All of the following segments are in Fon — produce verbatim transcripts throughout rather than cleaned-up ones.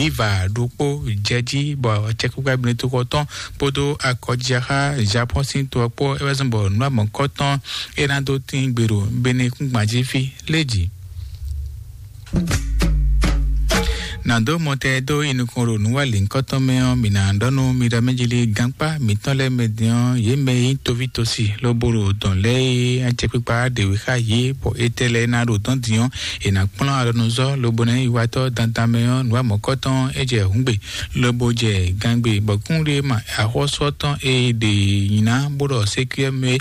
vǎ ɖokpó jɛ jí, bɔ acɛkpikpa Benetoxɔ tɔn kpódó akɔjiaxá Japɔ́n sín to ɔ́ kpó é wɛ zɔ́n bɔ nǔ amɔ̌kɔ́tɔn é ná dó tín gbe ɖo Benɛ́ kúngban jí fí lé jí. Nǎ dó mɔtɛn dó yi nukɔn ɖo nǔwanlǐnkɔtɔn mɛ ɔ́, mǐ ná ɖɔ nú mi ɖɔ mɛ jí lé, gankpá mǐtɔn lɛ́ɛ mɛ din ɔ́, yě mɛ e nyí toví tosi lobo ɖo dɔ̌n lɛ́ɛ e acɛkpikpa ɖě wú xá yě, bɔ étɛ́ lɛ́ɛ ná ɖo dɔ̌n din ɔ́, è nǎ kplɔ́n alɔnuzɔ́ lobo ná nyí yiwatɔ́ dandan mɛ ɔ́, nǔ amɔ̌kɔ́tɔn é jɛ hǔngbe lobo jɛ gangbe, bɔ kúnɖé ma axɔ́sú ɔ́ tɔn e ɖe nyi ná bó ɖɔ sékúyɛ́ mɛ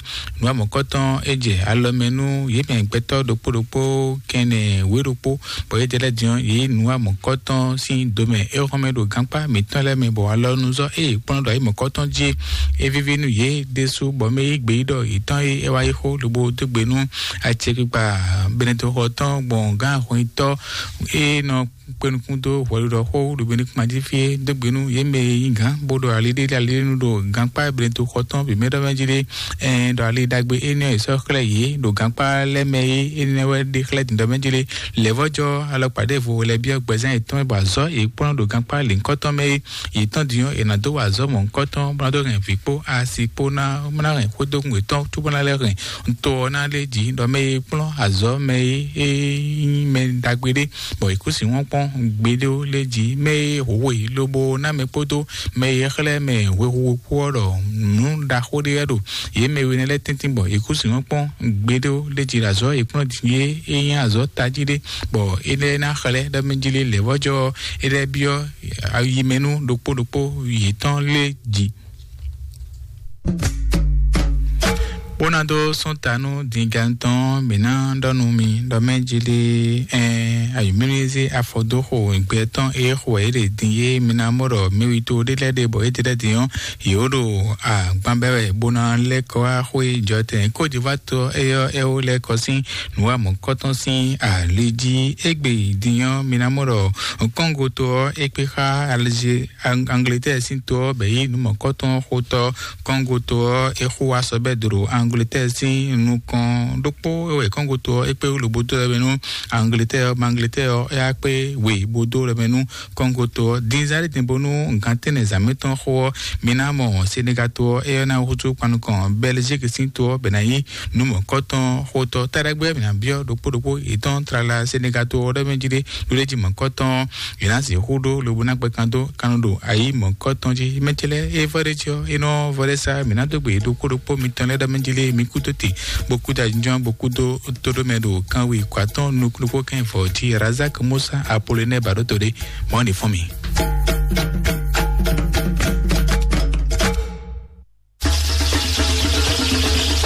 nǔ amɔ̌kɔ́tɔn é jɛ alɔ mɛ nú yě mɛ gbɛtɔ́ ɖokpó ɖokpó kɛnɛ wě ɖokpó, bɔ yě jɛ lɛ́ din ɔ́, yě nǔ amɔ̌kɔ́tɔn sín do mɛ é xɔ́n mɛ ɖo gankpá mǐtɔn lɛ́ɛ mɛ, bɔ alɔnuzɔ́ ée kplɔ́n ɖo ayǐ mɔ̌kɔ́tɔn jí é víví nú yě ɖésú, bɔ mɛ yí gbeyíɖɔ yětɔn e é wá yi xó lobo dó gbe nú acɛkpikpa Benetoxɔ tɔn gbɔn gán ahɔnyitɔ́ e nɔ kpé nukún dó hwɛɖiɖɔ xó ɖo Benɛ́ kúngban jí fí é dó gbe nú yě mɛ e nyí gǎn bó ɖo ali ɖé ali ɖé nu ɖo gankpá Benetoxɔ tɔn bǐ mɛ ɖɔ mɛ jí ɖé. Ɛn ɖɔ ali ɖagbe énɛ́ ɔ́ è sɔ́ xlɛ́ yě ɖo gankpá lɛ́ɛ mɛ é énɛ́ wɛ ɖe xlɛ́ dǐndɔ́ mɛ jí ɖé. Lɛ̌vɔ́jɔ alɔkpa ɖěvo lɛ́ byɔ́ gbɛzán yětɔn bɔ azɔ̌ yě kplɔ́n ɖo gankpá lǐnkɔ́tɔn mɛ é yě tɔn din ɔ́, è nǎ dó wa azɔ̌ mɔ̌hunkɔtɔn bó ná dó hɛn vǐ kpó asi kpó ná bó ná hɛn xwédógún yětɔn cóbó ná lɛ́ hɛn to ɔ́ ná lé jǐ ɖɔ mɛ e kplɔ́n azɔ̌ mɛ e é nyí mɛ ɖagbe ɖé, bɔ è kú sin wɔ́n kpɔ́n gbeɖé ó lé jǐ mɛ e hǒwe lobo ná mɛ kpódó mɛ e xlɛ́ mɛ hwehuhu kpó ɔ́ ɖɔ nǔ ɖaxó ɖé wɛ ɖo yě mɛ we nɛ́ lɛ́ɛ tɛ́ntin bɔ è kú sin wɔ́n kpɔ́n gbeɖé ó lé jǐ ɖo azɔ̌ è kplɔ́n din é é nyí azɔ̌ tají ɖé, bɔ é lɛ́ ná xlɛ́ ɖɔ mɛ jí lé lɛ̌vɔ́jɔ é lɛ́ byɔ́ ayi mɛ nú ɖokpó ɖokpó yětɔn lé jǐ. Bó ná dó sɔ́n ta nú dǐngán tɔn, mǐ ná ɖɔ nú mi ɖɔ mɛ jí lé ɛn ayǐmílízí afɔdóxo gbɛ tɔn e xo wɛ é ɖe din é, mi ná mɔ ɖɔ mɛwító ɖé lɛ́ɛ ɖe bɔ é ɖe lɛ́ɛ din ɔ́, yě wó ɖo agban bɛ́ wɛ bó ná lɛ́ kɔ wá xwé jɔtɛn kójivátɔ éyɔ́ é wó lɛ́ kɔ sín nǔ wa mɔ̌kɔtɔn sín ali jí. Égbé din ɔ́, mi ná mɔ ɖɔ Kɔ́ngo to ɔ́ é kpé xá Algérie, Ang- Angleterre sín to ɔ́ bɛ yí nǔ mɔ̌kɔtɔn xotɔ́ Kɔ́ngo to ɔ́ é xo wá sɔ bɛ́ do ɖo Angleterre sín nukɔn ɖokpó é wɛ Kɔ́ngo to ɔ́ é kpé wú lobo dó lɛ́ mɛ nú Angleterre ɔ́, bɔ Angleterre ɔ́ é wá kpé we bó dó lɛ́ mɛ nú Kɔ́ngo to ɔ́. Din zán ɖé din bónú gǎn tɛ́nnɛ zǎn mǐtɔn xo ɔ́, mi ná mɔ Senegal to ɔ́ é ná húzú kpan nukɔn Belgique sín to ɔ́ bɛ ná nyí nǔ mɔ̌kɔtɔn xotɔ́. Taɖagbe ɔ́, mǐ ná byɔ́ ɖokpó ɖokpó yětɔn tlala Senegal to ɔ́ ɖɔ mɛ jí ɖé ɖó ɖé jí mɔ̌kɔtɔn yě ná sixú ɖó lobo ná gbɛ kan dó kan ɖo ayǐ mɔ̌kɔtɔn jí. Mɛ ce lɛ́ɛ é vɔ ɖé jí ɔ́, é nɔ vɔ ɖé sá mǐ ná dó gbe ɖokpó ɖokpó mitɔn lɛ́ɛ ɖɔ mɛ jí lé mi kú dó te bó kú dó ajínjɔ́n bó kú dó tóɖó mɛ ɖo kanwe kó atɔ́ɔ́n nukúnnú kɛ́n vɔ jí Razak Musa Apolonɛ ba ɖó to ɖé mɔ̌ ní fún mi.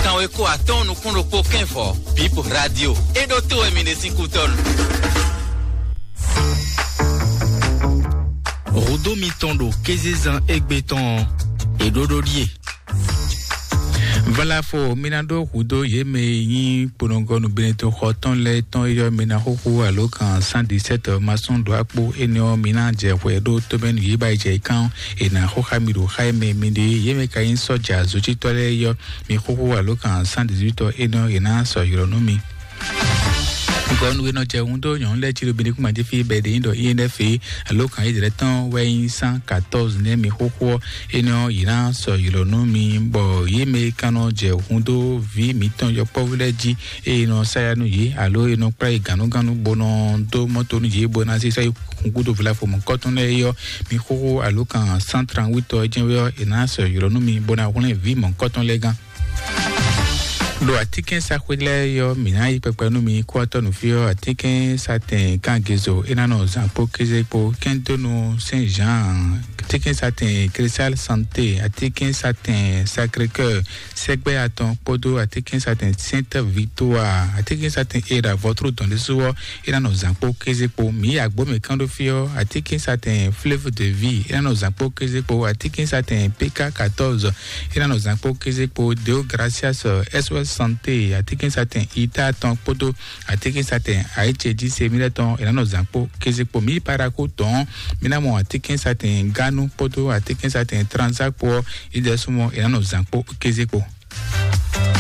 Kanwe kó atɔ́ɔ́n nukún ɖokpó kɛ́n vɔ Bip Radio é ɖó to wɛ mi ɖe sín kútɔ́nu. Hǔdó mitɔn ɖo kézezán égbé tɔn ɔ́, è ɖó ɖó ɖíe. Valafo mi ná ɖó hǔdó yě mɛ e nyí kponɔgɔnu Benetoxɔ tɔn lɛ́ɛ tɔn yɔ mi ná xúxú alo kan cent dix-sept masɔn ɖó akpó énɛ́ ɔ́, mi ná jɛ hwɛ ɖó tómɛnu yě ba yi jɛ yi kán è nǎ xó xá mi ɖo xá e mɛ mi ɖe yě mɛ ka nyí sɔ́ja zǒcítɔ́ lɛ́ɛ yɔ mi xúxú alo kan cent dix-huit ɔ́ énɛ́ ɔ́, è nǎ sɔ́ ylɔ́ nú mi. Gɔnu e nɔ jɛ hun dó nyɔ̌nu lɛ́ɛ cí ɖo Benɛ́ kúngban jí fí bɛ́ ɖě nyí ɖɔ I N F alo kan yědɛ́ tɔn wɛ nyí cent quatorze nɛ́ mi xóxó ɔ́, énɛ́ ɔ́, yě ná sɔ́ ylɔ́ nú mi, bɔ yě mɛ e ka nɔ jɛ hun dó vǐ mǐtɔn yɔkpɔ́vú lɛ́ɛ jí, ée nɔ sá ya nú yě, alo e nɔ kplá yě gǎnnugánnu bó nɔ dó mɔ́to nú yě, bó ná zé sɔ́ yi hun gúdo vlafo mɔ̌kɔtɔn lɛ́ɛ é ɔ́, mi xóxó alo kan cent trente-huit ɔ́ jɛ́n wɛ ɔ́, è nǎ sɔ́ ylɔ́ nú mi, bó ná hwlɛ́n vǐ mɔ̌kɔtɔn lɛ́ɛ gán. Ɖo atínkɛ́nsaxwé lɛ́ɛ ɔ́, mǐ ná yí kpɛkpɛ nú mi kó ɔ́ tɔ́ nǔ fí ɔ́, atínkɛ́nsatɛn Kangezo é ná nɔ zǎn kpó kéze kpó, kɛ́ndónú Saint Jean, atínkɛ́nsatɛn Cristal Santé, atínkɛ́nsatɛn Sacré Cœur sɛgbɛ atɔn kpódó atínkɛ́nsatɛn Sainte Victoire, atínkɛ́nsatɛn Era vɔtrú dɔn ɖésú ɔ́, é ná nɔ zǎn kpó kéze kpó. Mǐ yi agbǒ mǐ kán ɖó fí ɔ́, atínkɛ́nsatɛn Fleuve de Vie é ná nɔ zǎn kpó kéze kpó, atínkɛ́nsatɛn P K quatorze é ná nɔ zǎn kpó kéze kpó, Deo Gracias, S O S Santé, atínkɛ́nsatɛn Ita tɔn kpódó atínkɛ́nsatɛn Aice jí se mí lɛ́ɛ tɔn é ná nɔ zǎn kpó kéze kpó. Mǐ yi Parakou tɔn, mí ná mɔ atínkɛ́nsatɛn Ganu kpódó atínkɛ́nsatɛn Transa kpó ɔ́, é jɛ súnmọ́ é ná nɔ zǎn kpó kéze kpó.